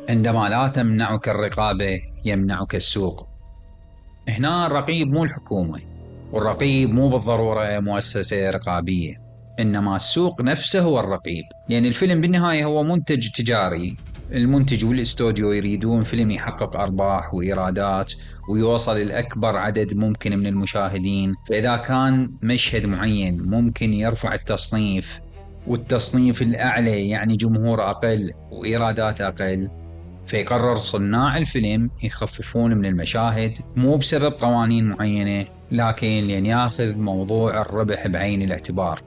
عندما لا تمنعك الرقابة يمنعك السوق. هنا الرقيب مو الحكومة، والرقيب مو بالضرورة مؤسسة رقابية، إنما السوق نفسه هو الرقيب. لأن الفيلم بالنهاية هو منتج تجاري، المنتج والاستوديو يريدون فيلم يحقق أرباح وإيرادات ويوصل لأكبر عدد ممكن من المشاهدين. فإذا كان مشهد معين ممكن يرفع التصنيف، والتصنيف الأعلى يعني جمهور أقل وإيرادات أقل، فيقرر صناع الفيلم يخففون من المشاهد، مو بسبب قوانين معينة، لكن لأن ياخذ موضوع الربح بعين الاعتبار.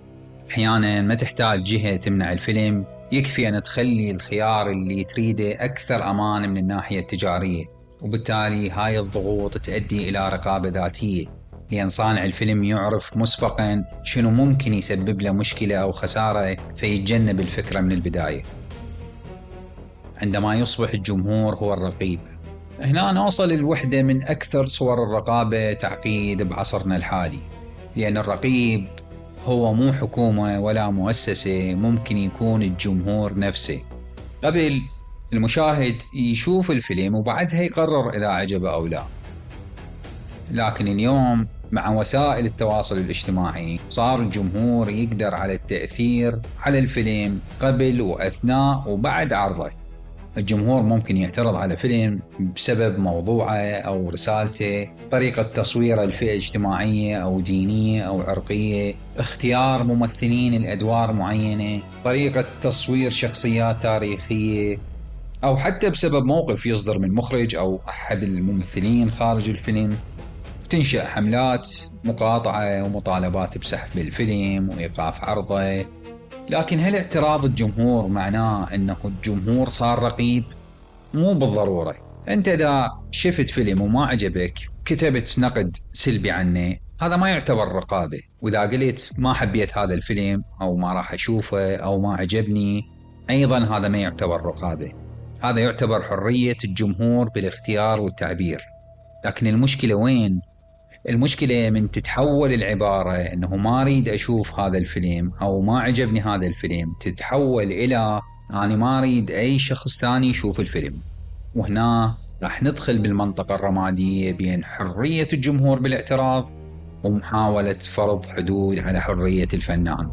أحيانا ما تحتاج جهة تمنع الفيلم، يكفي أن تخلي الخيار اللي تريده أكثر أمان من الناحية التجارية، وبالتالي هاي الضغوط تؤدي إلى رقابة ذاتية، لأن صانع الفيلم يعرف مسبقا شنو ممكن يسبب له مشكلة أو خسارة، فيتجنب الفكرة من البداية. عندما يصبح الجمهور هو الرقيب، هنا نوصل الوحدة من أكثر صور الرقابة تعقيد بعصرنا الحالي. لأن الرقيب هو مو حكومة ولا مؤسسة، ممكن يكون الجمهور نفسه. قبل المشاهد يشوف الفيلم وبعدها يقرر إذا عجبه أو لا، لكن اليوم مع وسائل التواصل الاجتماعي صار الجمهور يقدر على التأثير على الفيلم قبل وأثناء وبعد عرضه. الجمهور ممكن يعترض على فيلم بسبب موضوعه أو رسالته، طريقة تصويره لفئة اجتماعية أو دينية أو عرقية، اختيار ممثلين الأدوار معينة، طريقة تصوير شخصيات تاريخية، أو حتى بسبب موقف يصدر من مخرج أو أحد الممثلين خارج الفيلم. تنشأ حملات مقاطعة ومطالبات بسحب الفيلم وإيقاف عرضه. لكن هل اعتراض الجمهور معناه أنه الجمهور صار رقيب؟ مو بالضرورة. أنت إذا شفت فيلم وما عجبك كتبت نقد سلبي عنه، هذا ما يعتبر رقابة. وإذا قلت ما حبيت هذا الفيلم أو ما راح أشوفه أو ما عجبني، أيضا هذا ما يعتبر رقابة. هذا يعتبر حرية الجمهور بالاختيار والتعبير. لكن المشكلة وين؟ المشكلة من تتحول العبارة أنه ما أريد أشوف هذا الفيلم أو ما عجبني هذا الفيلم، تتحول إلى أنا ما أريد أي شخص ثاني يشوف الفيلم. وهنا راح ندخل بالمنطقة الرمادية بين حرية الجمهور بالاعتراض ومحاولة فرض حدود على حرية الفنان.